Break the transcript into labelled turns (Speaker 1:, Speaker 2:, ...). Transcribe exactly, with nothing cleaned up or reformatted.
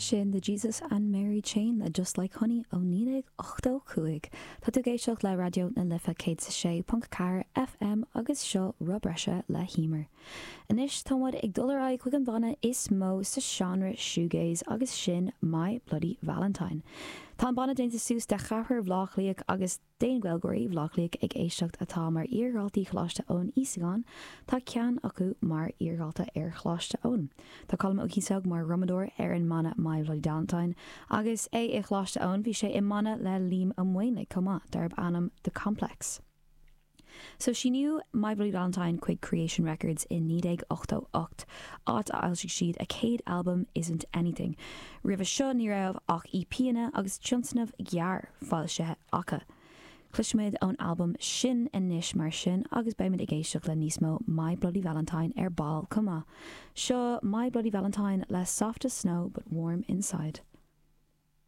Speaker 1: Sin the Jesus and Mary Chain le Just Like Honey ó naoi déag ochtó cúig. Tá tú ag éisteacht le Raidió na Life céad is sé ponc ceathair FM agus seo Roth Breise le hEmer. Anois tá muid ag dul ar aghaidh chuig an bhanna is mó sa seánra shoegaze agus sin My Bloody Valentine. Tá an banna déanta suas de cheathrar Bhaile Átha Cliath agus d'aon Ghaeilgeoirí Bhaile Átha Cliath ag éisteacht atá mar iardhaltaí Choláiste Eoin Íosagáin, tá ceann acu mar iardhalta ar Choláiste Eoin. Tá Colm Ó Cíosóg mar dhrumadóir ar an mbanna My Bloody Valentine agus é i Choláiste Eoin bhí sé i mbanna le Liam Ó Maonlaí chomh maith darb ainm The Complex. So síníodh My Bloody Valentine chuig Creation Records in naoi déag ochtó ocht, áit a fhoilsigh siad a céad albam Isn't Anything. Roimhe seo ní raibh ach EPanna agus tionscnamh gearr foilsithe acu. Cloisfimid ón albam sin anois mar sin agus beimid ag éisteacht le níos mó My Bloody Valentine ar ball chomh maith. Seo My Bloody Valentine le Soft as Snow but Warm Inside.